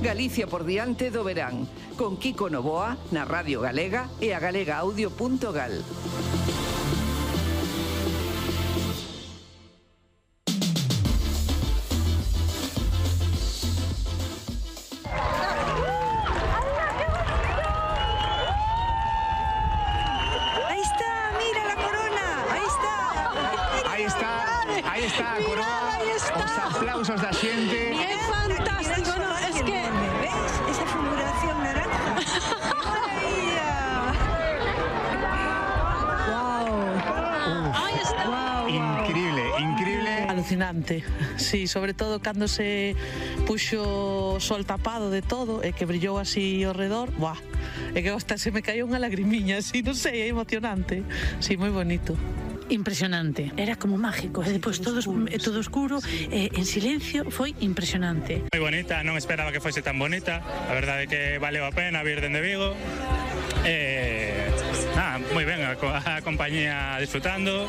Galicia por diante do verán, con Kiko Novoa na Radio Galega e a galegaaudio.gal. Aí está a coroa, os aplausos da xente. É fantástico, no, es que ¿Ves? Esa figuración naranja. aí está. Increíble. Alucinante, sí, sobre todo cando se puxo o sol tapado de todo e que brillou así ao redor, buah, é que hasta se me caiu unha lagrimiña, así, non sei, é emocionante, sí, moi bonito. Impresionante, era como mágico, e depois todo oscuro, en silencio, foi impresionante. Moi bonita, non esperaba que fose tan bonita, a verdade é que valeu a pena vir dende Vigo, moi ben, a compañía disfrutando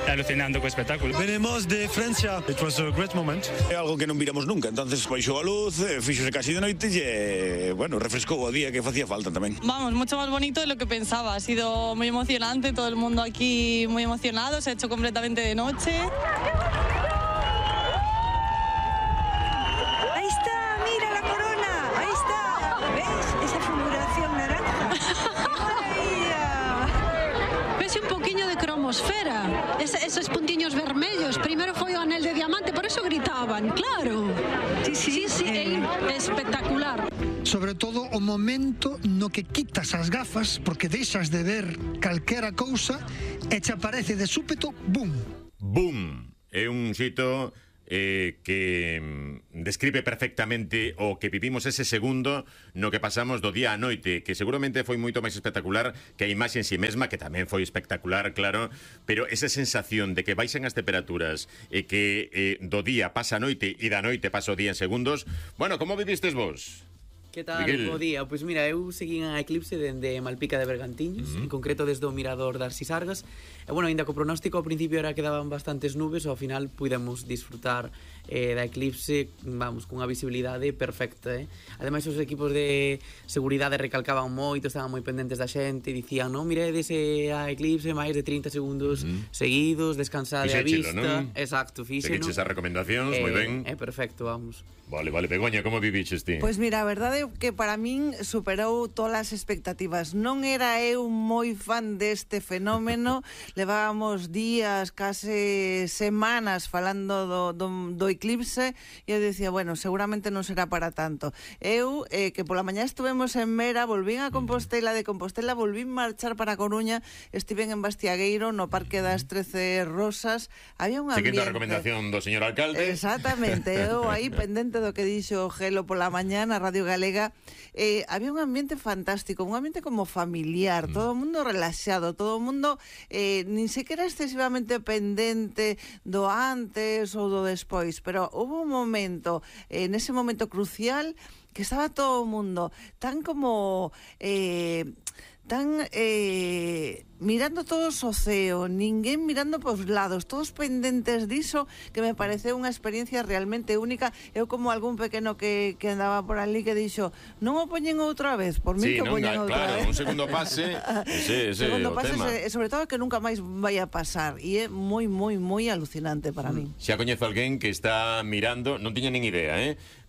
e alucinando co espectáculo. Venimos de Francia, it was a great moment. É algo que non viramos nunca, entonces baixou a luz, fíxose casi de noite e, bueno, refrescou o día que facía falta tamén. Vamos, mucho más bonito de lo que pensaba. Ha sido muy emocionante, todo el mundo aquí muy emocionado, se ha hecho completamente de noche. Ahí está, mira la corona. Ahí está. ¿Ves? Esa figuración naranja. Vese un poquinho de cromosfera, esos puntiños vermellos, primeiro foi o anel de diamante, por eso gritaban, claro. Sí, é espectacular. Sobre todo o momento no que quitas as gafas porque deixas de ver calquera cousa e te aparece de súpeto, boom. Boom. É un xito que describe perfectamente o que vivimos ese segundo no que pasamos do día á noite, que seguramente foi moito máis espectacular que a imaxe en si mesma, que tamén foi espectacular, claro, pero esa sensación de que baixan as temperaturas e que do día pasa a noite e da noite pasa o día en segundos. Bueno, como vivistes vos? Que tal, bo día? Pois mira, eu seguín a eclipse dende Malpica de Bergantiños, en concreto desde o mirador das Sisargas. E bueno, ainda co pronóstico ao principio era que daban bastantes nubes, ao final pudemos disfrutar da eclipse, vamos, cunha visibilidade perfecta, Ademais, os equipos de seguridade recalcaban moito, estaban moi pendentes da xente, dicían, non miredes a eclipse máis de 30 segundos seguidos, descansade a vista. Non? Exacto, fíxeno. Seguiches as recomendacións, moi ben. É perfecto, vamos. Vale, Begoña, como viviches ti? Pois mira, a verdade é que para min superou todas as expectativas. Non era eu moi fan deste fenómeno, levábamos días, case semanas falando do eclipse e eu dicía, bueno, seguramente non será para tanto. Eu, que pola mañá estuvemos en Mera, volvín a Compostela, de Compostela volvín marchar para Coruña, estiven en Bastiagueiro, no Parque das 13 Rosas, había un ambiente... Seguindo a recomendación do señor alcalde. Exactamente, eu aí pendente do que dixo Gelo pola mañá na Radio Galega, había un ambiente fantástico, un ambiente como familiar, todo o mundo relaxado, todo o mundo nin sequera excesivamente pendente do antes ou do despois, pero houve un momento, nese momento crucial, que estaba todo o mundo tan como... mirando todos o ceo, ninguén mirando pos lados, todos pendentes diso, que me pareceu unha experiencia realmente única. Eu como algún pequeno que andaba por ali que dixo, non o poñen outra vez, por mí que o poñen outra vez. Claro, un segundo pase, ese segundo o pase, tema. E sobre todo que nunca máis vai a pasar, e é moi alucinante para min. Xa coñezo alguén que está mirando, non tiña nin idea,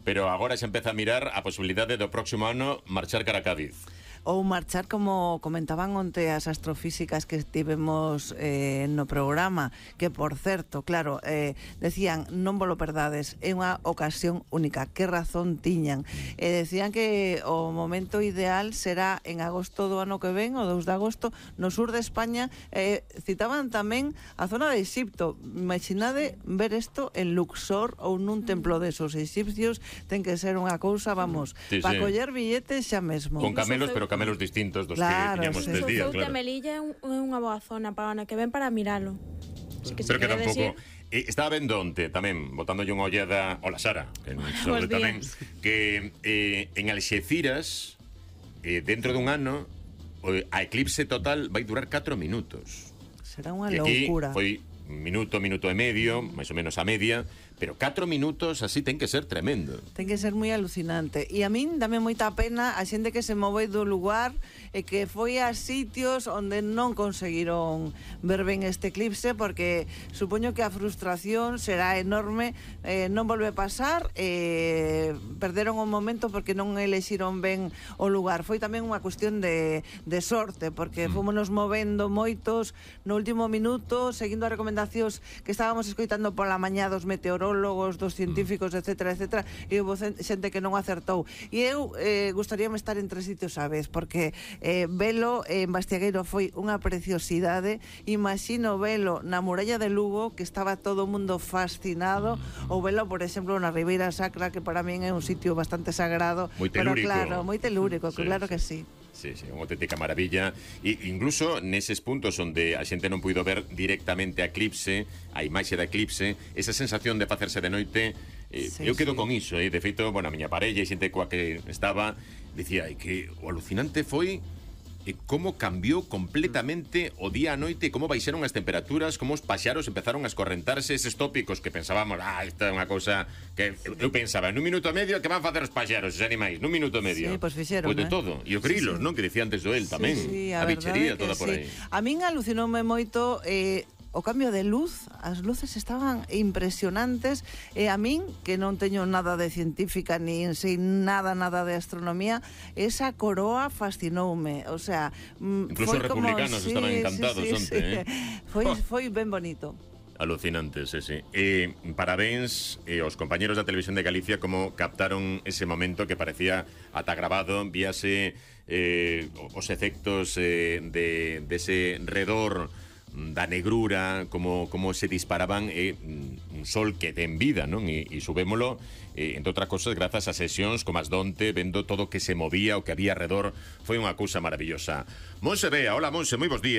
pero agora xa empeza a mirar a posibilidade do próximo ano marchar cara a Cádiz. Ou marchar, como comentaban onte as astrofísicas que tivemos no programa, que por certo, claro, decían, non vos lo perdades, é unha ocasión única, que razón tiñan, decían que o momento ideal será en agosto do ano que ven, o 2 de agosto, no sur de España. Citaban tamén a zona de Exipto. Imaginade ver isto en Luxor ou nun templo desos egipcios, ten que ser unha cousa, vamos, para coller billetes xa mesmo. Con camelos, pero camelos distintos dos que tiñamos estes días, claro. Melilla é unha boa zona para ano que ven para miralo. Pero que tampouco... Estaba vendo onte tamén, botándolle unha ollada ao la Sara, que sobre tamén, que en Alxeciras, dentro dun ano, a eclipse total vai durar 4 minutos. Será unha loucura. Foi minuto e medio, máis ou menos a media, pero 4 minutos así ten que ser tremendo. Ten que ser moi alucinante. E a min dame moita pena a xente que se moveu do lugar e que foi a sitios onde non conseguiron ver ben este eclipse, porque supoño que a frustración será enorme. Non volve a pasar, perderon un momento porque non elexiron ben o lugar. Foi tamén unha cuestión de sorte, porque fomos movendo moitos no último minuto, seguindo as recomendacións que estábamos escoitando pola mañá dos meteorólogos, dos científicos, etcétera, etcétera, e houve xente que non acertou. E eu gustaríame estar en 3 sitios a vez, porque velo en Bastiagueiro foi unha preciosidade. Imagino velo na muralla de Lugo, que estaba todo o mundo fascinado, ou velo, por exemplo, na Ribeira Sacra, que para min é un sitio bastante sagrado. Moi telúrico. Pero claro, moi telúrico, sí, claro que sí. Sí, unha auténtica maravilla. E incluso neses puntos onde a xente non puido ver directamente a eclipse, a imaxe da eclipse, esa sensación de facerse de noite, eu quedo con iso. De feito, bueno, a miña parella e xente coa que estaba dicía que o alucinante foi como cambiou completamente o día a noite, como baixaron as temperaturas, como os paxaros empezaron a escorrentarse, eses tópicos que pensábamos, isto é unha cousa que eu pensaba, nun minuto e medio que van facer os paxaros, os animais, nun minuto e medio. Sí, pois fixeron, de todo. E o grilos, non? Que decía antes do el tamén. A bichería toda por aí. A min alucinoume moito o cambio de luz, as luces estaban impresionantes, e a min, que non teño nada de científica, nin sei nada de astronomía, esa coroa fascinoume, o sea, incluso os republicanos estaban encantados onte, foi ben bonito. Alucinante, sí. Parabéns aos compañeros da Televisión de Galicia como captaron ese momento que parecía ata grabado, víase os efectos dese redor da negrura, como se disparaban, un sol que ten vida, non? E subémolo, entre outras cosas, grazas a sesións como as donte, vendo todo o que se movía, o que había alrededor, foi unha cousa maravillosa. Monse Bea, hola Monse, moi bons días.